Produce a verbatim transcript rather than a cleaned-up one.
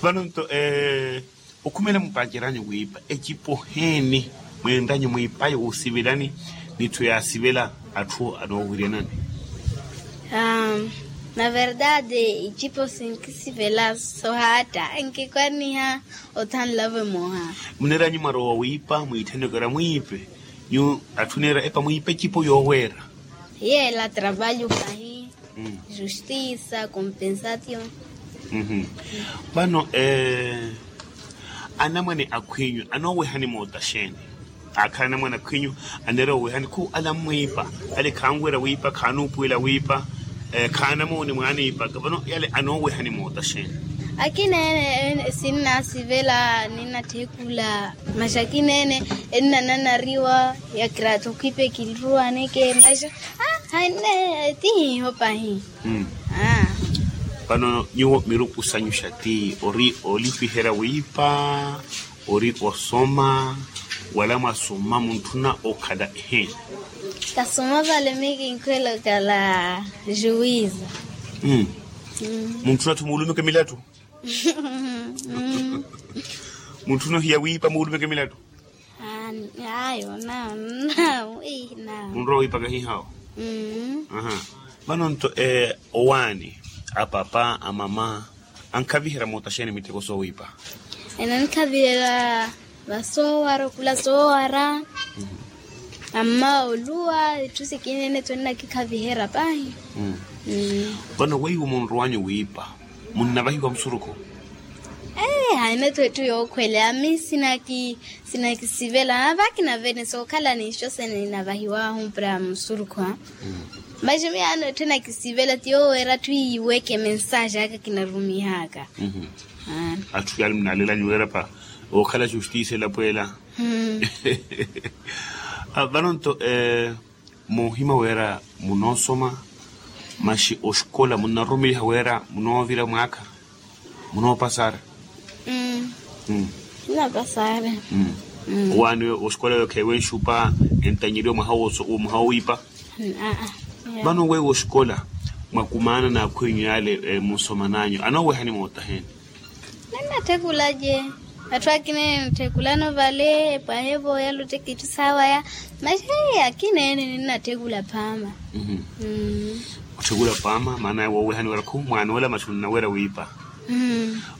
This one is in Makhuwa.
Vano nto okhumela mupaceranyu wiipa ecipo heeni? Mweenranyu mwiipayo wusivelani n'itthu yaasivela atthu anoowiryanani? Na verdade icipo sinkisivela sohaatta nkikwanniha. Othanlavo emoha. Muneeranyu mwarowa wiipa mwiitthanyokera mwiipe nyu atthu neera epa mwiipa ecipo yooweera. Yeela travalho pahi. Justisa compensation. Vano anamwane akhwinyu anoowehani moota xeeni? Akhala anamwane akhwinyu aneera owehani khu ala mmwiipa, ale khanwerya wiipa khanuupuwela wiipa. Khaanamooni mwaaniipaka vano yale anoowehani moota xeeni? Akina ene sinnasivela ninnatthekula. Masi akina ene ennananariwa. Yakiraatha okhwipa ekinruwaneke masi. Hainne tihiiho pahi. Vano nyuwo miruku sanyu xati ori olipiherya wiipa, ori osoma, wala mwasoma muntthuna okhala eheeni? Kasoma vale miyo kinkhwela okhala juwiza. Muntthuna atthu muulumeke milattu? Muntthuna ohiya wiipa muulumeke milattu? Ayo nawo nawo. Munrowa wiipaka hihawo. Vano nto owaani, apapa amama ankhaviherya moota xeeni mittheko soowiipa? Enankhaviherya vasoowara okhula soowara. Amma oluwa itthu sikina ene tho ennakikhaviherya pahi. Vano weiwo munrowanyu wiipa munnavahiwa musurukhu? Haina tho etthu yookhwele ami sinakisivela avakinavene sookhala ninxo sene ninavahiwahu para musurukhu. Masi miyo ano etthu enakisivela ti yooweera atthu iiweke mensaaxi aka kinarumihaka. Atthu yaale munalelanyu weerapa ookhala justice elapweela. Vano nto moohima wira munoosoma masi oxikola munnaroromeliha wira munoovira mwaakha? Munoopasara? Munoopasara. Owaani oxikola yookheiwe nxupa entanyeriwa mwaha wowiipa? Vano weiwo oxikola mwakumaana n'akhwinyu yaale musomananyu anoowehani moota heeni? Ninnatthekulace. Atthu akina ene nitthekulano vale epwahe vooyala ottekitthi saawaya. Masi akina ene ninnatthekula phaama. Otthekula phaama maana woowehani wira khu mwaanoola masi onnawerya wiipa.